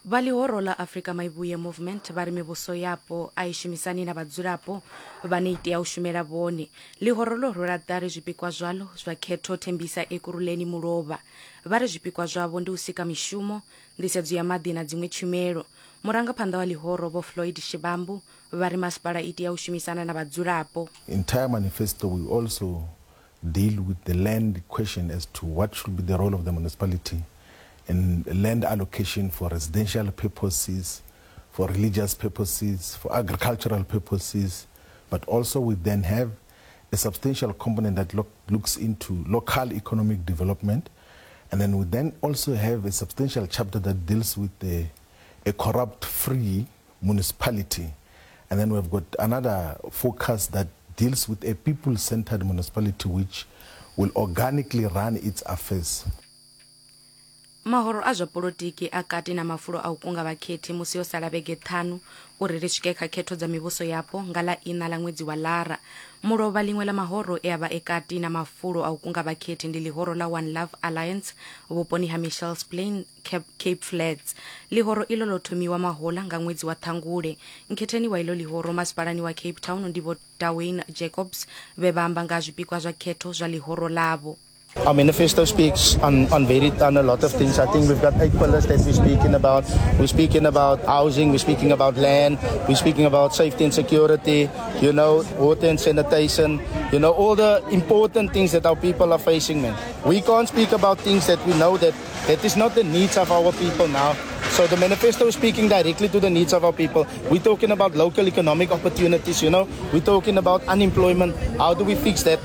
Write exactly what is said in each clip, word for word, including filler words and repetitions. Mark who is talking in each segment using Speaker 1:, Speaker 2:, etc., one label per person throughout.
Speaker 1: Vha ḽihoro ḽa Afrika Maivhuye Movement vha ri mivhuso yapo a i shumisani na vhadzulapo vhane i tea u shumela vhone. Ḽihoro ḽo rwela ṱari zwipikwa zwaḽo zwa khetho Thembisa Ekurhuleni mulovha. Vha ri zwipikwa zwavho ndi u sika mishumo, nḓisedzo ya maḓi na dziṅwe tshumelo. Murangaphanḓa wa ḽihoro Vho Floyd Shivambu vha ri masipala i tea u shumisana na vhadzulapo.
Speaker 2: Entire manifesto, we also deal with the land question as to what should be the role of the municipality in land allocation for residential purposes, for religious purposes, for agricultural purposes, but also we then have a substantial component that lo- looks into local economic development. And then we then also have a substantial chapter that deals with the, a corrupt-free municipality. And then we've got another focus that deals with a people-centered municipality which will organically run its affairs.
Speaker 1: Mahoro a zwa polotiki a kati na mafulo a u kunga vhakhethi musi yo sala vhege ṱhanu uri ri swike kha khetho dza mivhuso yapo nga ḽa iṋa ḽa ṅwedzi wa Lara. Mulovha ḽiṅwe ḽa mahoro e a vha e kati na mafulo a u kunga vhakhethi ndi ḽihoro ḽa One Love Alliance vhuponi ha Mitchells Plain, Cape, Cape Flats. Ḽihoro iḽo ḽo thomiwa mahola nga ṅwedzi wa Ṱhangule. Nkhetheni wa iḽo ḽihoro masipalani wa Cape Town ndi Vho Dwayne Jacobs vhe vha amba nga zwipikwa zwa khetho zwa ḽihoro ḽavho.
Speaker 3: Our manifesto speaks on, on very on a lot of things. I think we've got eight pillars that we're speaking about. We're speaking about housing, we're speaking about land, we're speaking about safety and security, you know, water and sanitation, you know, all the important things that our people are facing, man. We can't speak about things that we know that that is not the needs of our people now. So the manifesto is speaking directly to the needs of our people. We're talking about local economic opportunities, you know. We're talking about unemployment. How do we fix that?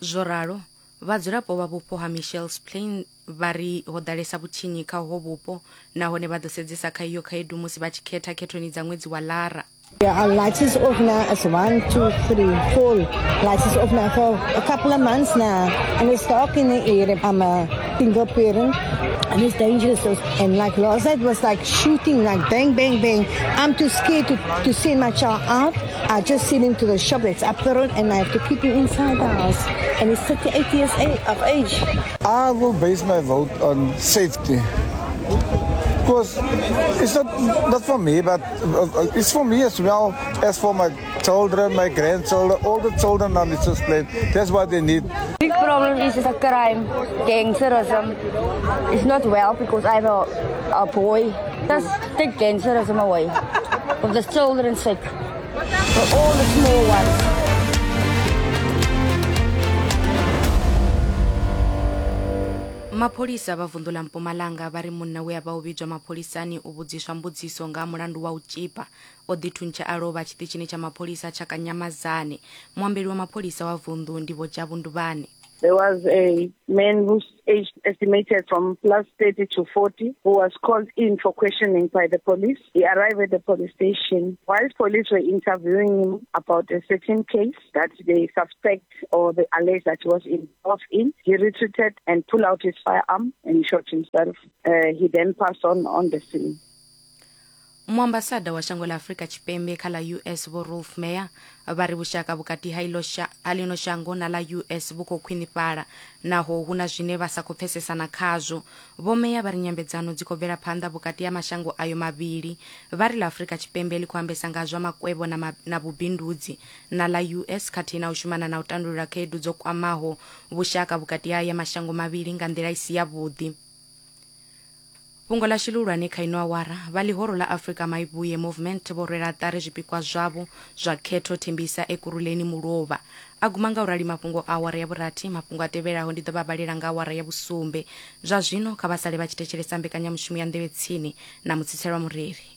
Speaker 1: Zwo ralo, vhadzulapo vha vhupo ha Mitchells Plain vha ri ho ḓalesa vhutshinyi kha ho vhupo nahone vha ḓo sedzesa kha iyo khaedu musi vha tshi khetha khethoni dza ṅwedzi wa Lara.
Speaker 4: Yeah, our lights is off now. It's one, two, three, four lights is off now for a couple of months now. And it's dark in the area. I'm a single parent and it's dangerous. And like last night was like shooting, like bang, bang, bang. I'm too scared to, to send my child out. I just send him to the shop that's up the road and I have to keep him inside the house. And he's thirty-eight years of age.
Speaker 5: I will base my vote on safety. Because it's not, not for me, but it's for me as well as for my children, my grandchildren, all the children on this planet. That's what they need.
Speaker 6: Big problem is the crime, gangsterism. It's not well because I have a, a boy. Just take gangsterism away. For the children's sake. For all the small ones.
Speaker 1: Mapholisa vha vunḓu ḽa Mpumalanga vha ri munna we a vha o vhidzwa mapholisani u vhudziswa mbudziso nga mulandu wa u tzhipa o ḓithuntsha a lovha tshiṱitshini tsha mapholisa tsha Kanyamazane. Muambeli wa mapholisa wa vunḓu ndi Vho Jabu Nduvhane.
Speaker 7: There was a man whose age estimated from plus thirty to forty who was called in for questioning by the police. He arrived at the police station. While police were interviewing him about a certain case that they suspect or they allege that he was involved in, he retreated and pulled out his firearm and shot himself. Uh, he then passed on on the scene.
Speaker 1: Muambasada wa shango ḽa Afrika Tshipembe kha ḽa U S Vho Rolf Meyer vha ri vhushaka vhukati ha ilo ha ḽino shango na ḽa U S vhu khou khwinifhala naho hu na zwine vha sa khou pfesesana khazwo. Vho Meyer vha ri nyambedzano dzi khou bvela phanḓa vhukati ha mashango ayo mavhili. Vha ri ḽa Afrika Tshipembe ḽi khou ambesa nga zwa makwevho na, ma, na vhubindudzi na ḽa U S khathihi na u shumana na u tandulula khaedu dzo kwamaho vhushaka vhukati ha ya mashango mavhili nga nḓila i si yavhuḓi. Fhungo ḽa tshilulwane kha ino awara, vha ḽihoro ḽa Afrika Maivhuye Movement vho rwela ṱari zwipikwa zwavho zwa khetho Thembisa Ekurhuleni mulovha. A guma nga u rali mafhungo a awara ya vhurathi, mafhungo a tevhelaho ndi ḓo vha vhalela nga awara ya vhusumbe. Zwa zwino kha vha sale vha tshi thetshelesa mbekanyamushumo ya Nḓevhe Tsini na Mutsitselwa Mureri.